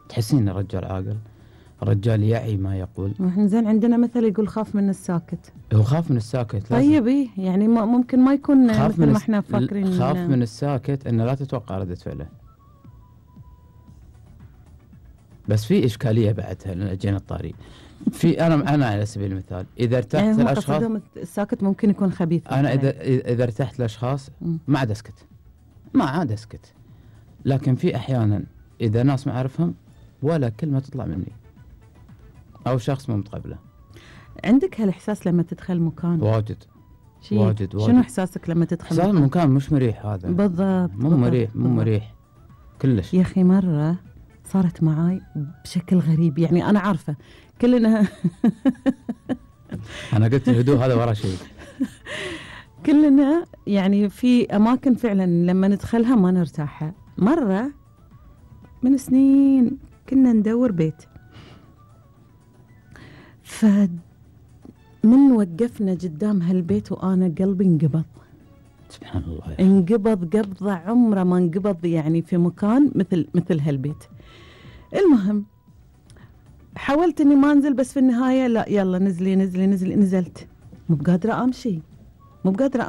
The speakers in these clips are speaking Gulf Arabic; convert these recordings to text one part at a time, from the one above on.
تحسين الرجال عاقل، الرجال يعي ما يقول. احنا زين عندنا مثل يقول خاف من الساكت. هو خاف من الساكت. طيب ايه يعني ممكن ما يكون مثل ما احنا فاكرين. خاف من الساكت انه لا تتوقع ردة فعله. بس في اشكاليه بعدها جينا الطريق. في انا على سبيل المثال اذا ارتحت يعني الاشخاص الساكت ممكن يكون خبيث. انا اذا ارتحت الاشخاص ما عاد اسكت، ما عاد اسكت. لكن في احيانا اذا ناس ما اعرفهم ولا كلمه تطلع مني او شخص مو متقبله. عندك هالاحساس لما تدخل مكان؟ واجد. شنو احساسك لما تدخل مكان؟ مكان مش مريح. هذا بالضبط. مو مريح كلش. يا اخي مره صارت معاي بشكل غريب، يعني انا عارفه كلنا انا قلت الهدوء هذا ورا شيء. كلنا يعني في اماكن فعلا لما ندخلها ما نرتاحها. مره من سنين كنا ندور بيت، من وقفنا قدام هالبيت وانا قلبي انقبض. سبحان الله. انقبض قبضه عمره ما انقبض يعني في مكان مثل هالبيت. المهم حاولت اني ما انزل، بس في النهايه لا يلا نزلي. نزلت مو بقادره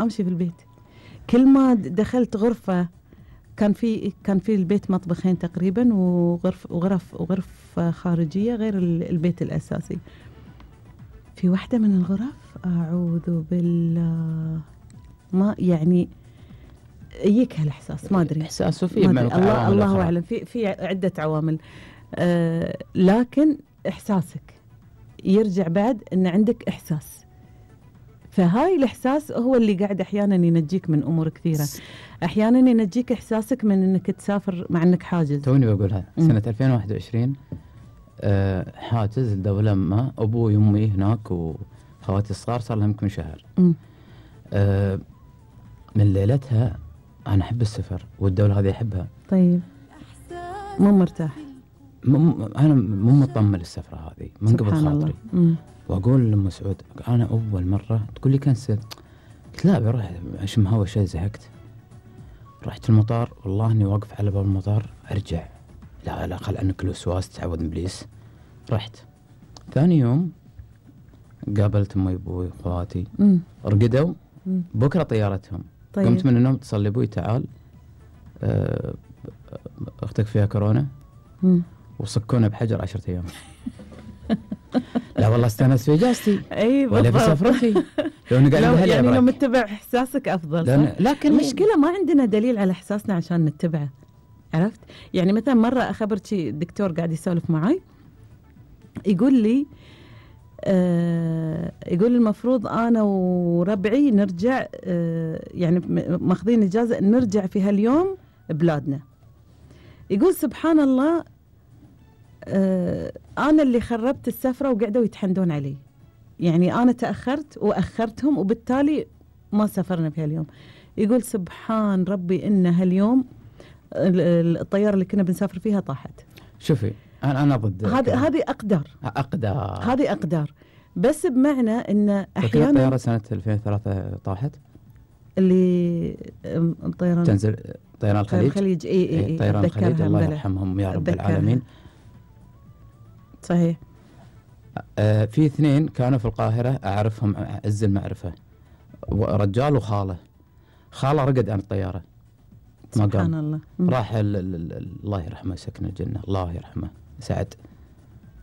امشي في البيت. كل ما دخلت غرفه كان في البيت مطبخين تقريبا وغرف خارجيه غير البيت الاساسي. في واحده من الغرف اعوذ بالله ما يعني يجيك هالاحساس، ما ادري احساسه في الله اعلم، في عده عوامل. لكن احساسك يرجع بعد ان عندك احساس، فهاي الاحساس هو اللي قاعد احيانا ينجيك من امور كثيره. احيانا ينجيك احساسك من انك تسافر مع انك حاجز. توني بقولها سنه 2021 حاجز لدوله ما، ابوي وامي هناك وخواتي الصغار صار لهم يمكن شهر. من ليلتها انا احب السفر والدوله هذه احبها. طيب مو مرتاح؟ انا مو مطمن للسفره هذه من قبل خاطري. واقول لام سعود انا اول مره تقول لي كنسل، قلت لا بروح اشم هوا شيء، زهقت. رحت المطار والله اني واقف على باب المطار ارجع لا خل عنك الوسواس تعود من ابليس. رحت ثاني يوم قابلت امي وابوي واخواتي رقدوا. بكره طيارتهم. طيب. قمت من النوم اتصل لي ابوي تعال اختك فيها كورونا وصكونا بحجر 10 أيام. لا والله استانس في اجازتي. اي ولا في سفرتي. لو متبع احساسك افضل. لكن المشكله ما عندنا دليل على احساسنا عشان نتبعه، عرفت؟ يعني مثلا مره اخبرت شي الدكتور قاعد يسولف معي يقول لي يقول المفروض انا وربعي نرجع يعني ماخذين اجازه نرجع في هاليوم بلادنا. يقول سبحان الله انا اللي خربت السفره وقعدوا يتحندون علي، يعني انا تاخرت واخرتهم وبالتالي ما سافرنا في هاليوم. يقول سبحان ربي ان هاليوم الطياره اللي كنا بنسافر فيها طاحت. شوفي انا ضد هذه هذه اقدار بس بمعنى ان احيانا الطياره سنه 2003 طاحت اللي الطيران تنزل طيران الخليج. اي طيران الخليج الله يرحمهم يا رب العالمين. صحيح. في اثنين كانوا في القاهره اعرفهم عز المعرفه، رجال وخاله رقد عن الطياره ما قام. سبحان الله. راح الله يرحمه يسكن الجنه، الله يرحمه سعد،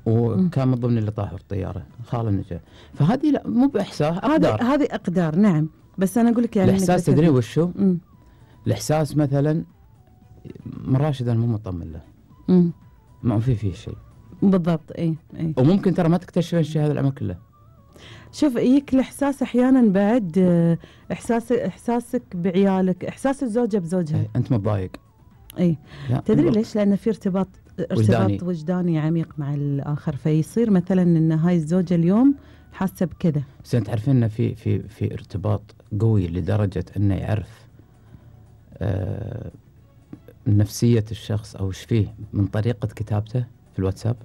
وكان من ضمن اللي طاحوا في الطياره خاله نجا. فهذه لا مو باحساس، اقدار. هذه اقدار نعم، بس انا اقول لك يعني الاحساس تدري وشو؟ الاحساس مثلا من راشد انا مو مطمن له. ما فيه شيء بالضبط. اي وممكن ترى ما تكتشف الشيء هذا العمر كله. شوف يجيك الاحساس احيانا بعد احساسك بعيالك، احساس الزوجه بزوجها. انت متضايق. اي تدري ليش؟ لان في ارتباط وجداني عميق مع الاخر، فيصير مثلا ان هاي الزوجه اليوم حاسه بكذا. بس انت تعرفين ان في ارتباط قوي لدرجه انه يعرف نفسيه الشخص او ايش فيه من طريقه كتابته في الواتساب.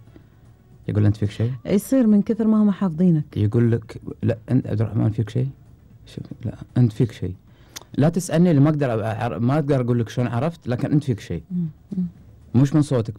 يقول انت فيك شيء، يصير من كثر ما هم حافظينك. يقول لك لا انت عبد الرحمن فيك شيء، لا انت فيك شيء. لا تسالني اللي ما اقدر اقول لك شلون عرفت، لكن انت فيك شيء مش من صوتك.